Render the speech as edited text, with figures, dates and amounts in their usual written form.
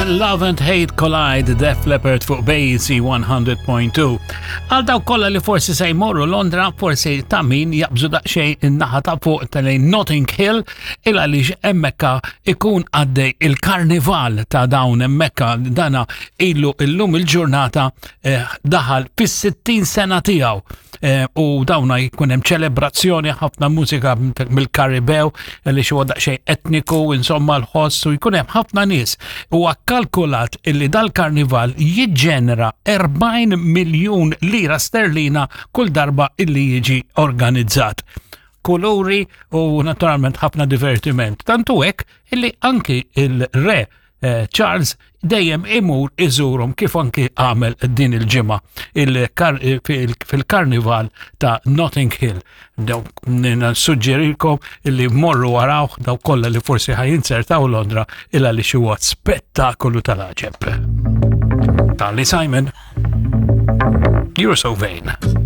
When Love and Hate Collide, Def Leppard fuq BC 100.2. Għal daw kollha li forsi se jmorru Londra, forsi ta' min jaqbżu daqsxejn in-naħa ta' fuq ta' lejn Notting Hill, il għaliex hemmhekk ikun għaddej il-karnival ta' dawn hemmhekk dana ilu illum il-ġurnata eh, daħal fis-60 sena tiegħu. Eh, u dawna jkun hemm ċelebrazzjoni ħafna mużika mill-Karibew li xi daqsxejn etniku, insomma l-ħoss u jkun hemm ħafna nies. Huwa kkalkulat illi dal-karnival jiġġenera 40 miljun lira sterlina kull darba illi jiġi organizzat. Kuluri u naturalment ħafna divertiment. Tantu hekk illi anki il-re eh, Charles dejjem imur iżurhom kif anki għamel din il-ġimgħa fil-karnival ta' Notting Hill. Suġġerilkom illi morru warawh daw kollha li forsi ħajinzertaw Londra illa li xi spettakolu tal-aġeb. Tali Simon, you're so vain.